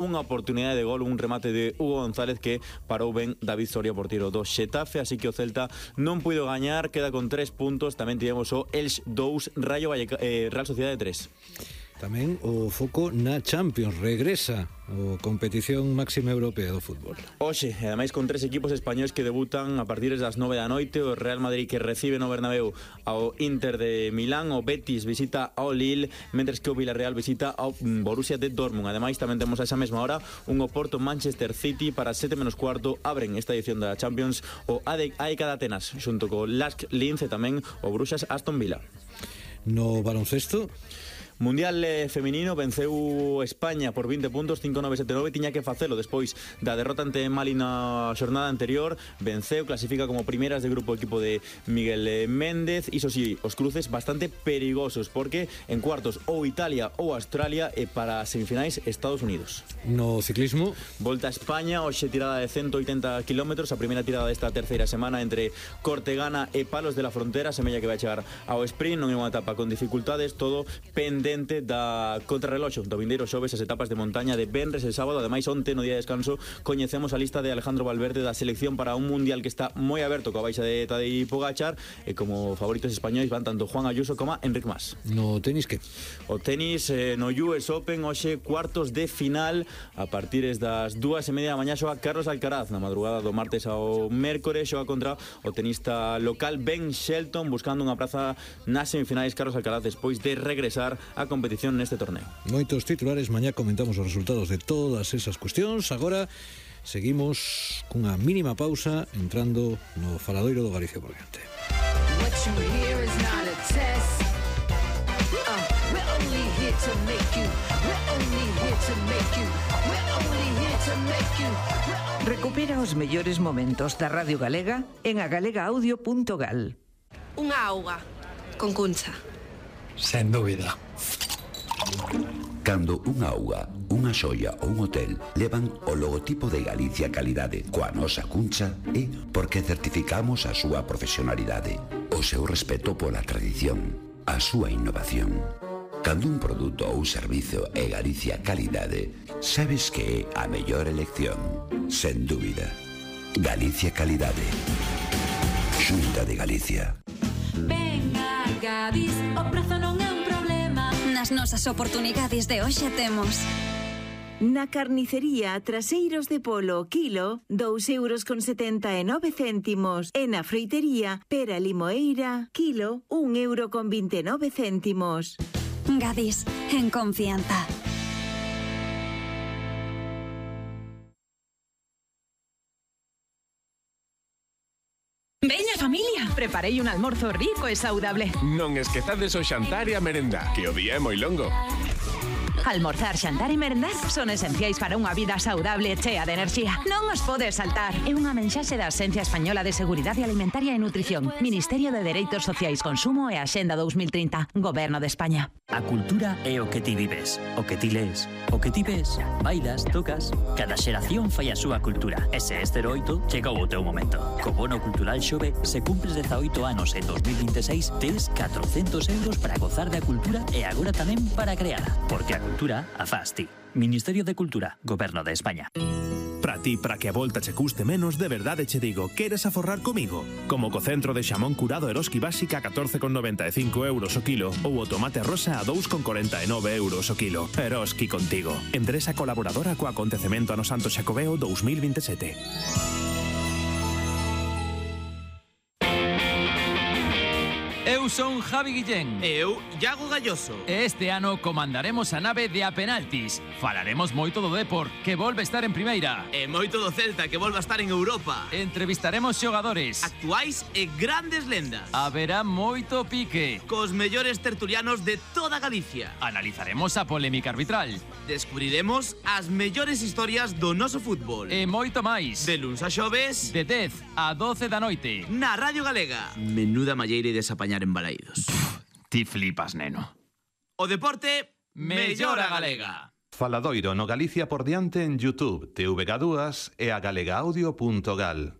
unha oportunidade de gol, un remate de Hugo González que parou ben David Soria, porteiro do Xetafe, así que o Celta non puido gañar, queda con 3 puntos. Tamén tivemos o Elx 2, Real Sociedade 3. Tamén o foco na Champions, regresa a competición máxima europea do fútbol. Hoxe, e ademais con 3 equipos españois que debutan a partir das 9 da noite, o Real Madrid que recibe no Bernabéu ao Inter de Milán, o Betis visita ao Lille, mentres que o Villarreal visita ao Borussia de Dortmund. Ademais, tamén temos a esa mesma hora un Oporto Manchester City para 7:15, abren esta edición da Champions o AEK de Atenas, xunto co Lask Linz e tamén o Bruxas Aston Villa. No baloncesto, Mundial feminino, venceu España por 20 puntos, 5-9-7-9, tiña que facelo despois da derrota ante Mali na xornada anterior, venceu, clasifica como primeiras de grupo o equipo de Miguel Méndez. Iso sí, os cruces bastante perigosos, porque en cuartos ou Italia ou Australia, e para semifinais Estados Unidos. No ciclismo, Volta a España, hoxe tirada de 180 km, a primeira tirada desta terceira semana entre Cortegana e Palos de la Frontera, semella que vai chegar ao sprint, non é unha etapa con dificultades, todo pendente da contrarreloxo do vindeiro xoves, as etapas de montaña de venres e sábado. Ademais, onte no día de descanso coñecemos a lista de Alejandro Valverde da selección para un mundial que está moi aberto coa baixa de Tadej Pogačar, e como favoritos españois van tanto Juan Ayuso como Enric Mas. no tenis que? O tenis no US Open, hoxe cuartos de final, a partir das 2:30 da mañá xoga Carlos Alcaraz, na madrugada do martes ao mércores xoga contra o tenista local Ben Shelton, buscando unha praza nas semifinais. Carlos Alcaraz despois de regresar a competición neste torneo. Moitos titulares, mañá comentamos os resultados de todas esas cuestións. Agora seguimos cunha mínima pausa entrando no faladoiro do Galicia por diante. What you hear is not a test. We're only here to make you. We're only here to make you. We're only here to make you. Recupera os mellores momentos da Radio Galega en agalegaudio.gal. Unha auga con Cuncha. Sen dúbida. Cando unha auga, unha xoia ou un hotel levan o logotipo de Galicia Calidade coa nosa cuncha, é porque certificamos a súa profesionalidade, o seu respeto pola tradición, a súa innovación. Cando un produto ou servizo é Galicia Calidade, sabes que é a mellor elección, sen dúbida. Galicia Calidade. Xunta de Galicia. Venga, Gadis, o prezo non é un problema. Nas nosas oportunidades de hoxe temos na carnicería Traseiros de Polo, kilo, 2,79 €. E na froitería Pera Limoeira, kilo, 1,29 €. Gadis, en confianza. Veña, familia, preparei un almorzo rico e saudable. Non esquezades o xantar e a merenda, que o día é moi longo. Almorzar, xantar e merendar son esenciais para unha vida saudable e chea de enerxía. Non os podes saltar. É unha mensaxe da Axencia Española de Seguridade Alimentaria e Nutrición, Ministerio de Dereitos Sociais, Consumo e Axenda 2030, Goberno de España. A cultura é o que ti vives, o que ti lees, o que ti ves, bailas, tocas. Cada xeración fai a súa cultura. E se este 8 chegou o teu momento. Co bono cultural Xove, se cumples 18 anos en 2026, tes 400 € para gozar da cultura e agora tamén para creala. Porque a cultura a faz ti. Ministerio de Cultura, Goberno de España. Para ti, para que a volta che custe menos, de verdade che digo, queres aforrar comigo? Como co centro de xamón curado Eroski Básica a 14,95 € o kilo ou o tomate rosa a 2,49 € o kilo. Eroski contigo. Empresa colaboradora co acontecemento ano Santo Xacobeo 2027. Eu son Javi Guillén. E eu, Iago Galloso. E este ano comandaremos a nave de A Penaltis. Falaremos moito do Depor, que volve estar en primeira. E moito do Celta, que volve a estar en Europa. Entrevistaremos xogadores actuais e grandes lendas. Haberá moito pique. Cos mellores tertulianos de toda Galicia. Analizaremos a polémica arbitral. Descubriremos as mellores historias do noso fútbol. E moito máis. De luns a xoves, de 10 a 12 da noite. Na Radio Galega. Menuda malleira de desapañar en Balaídos. Ti flipas, neno. O deporte mellora galega. Faladoiro no Galicia por diante en YouTube, TVG2 e a galegaudio.gal.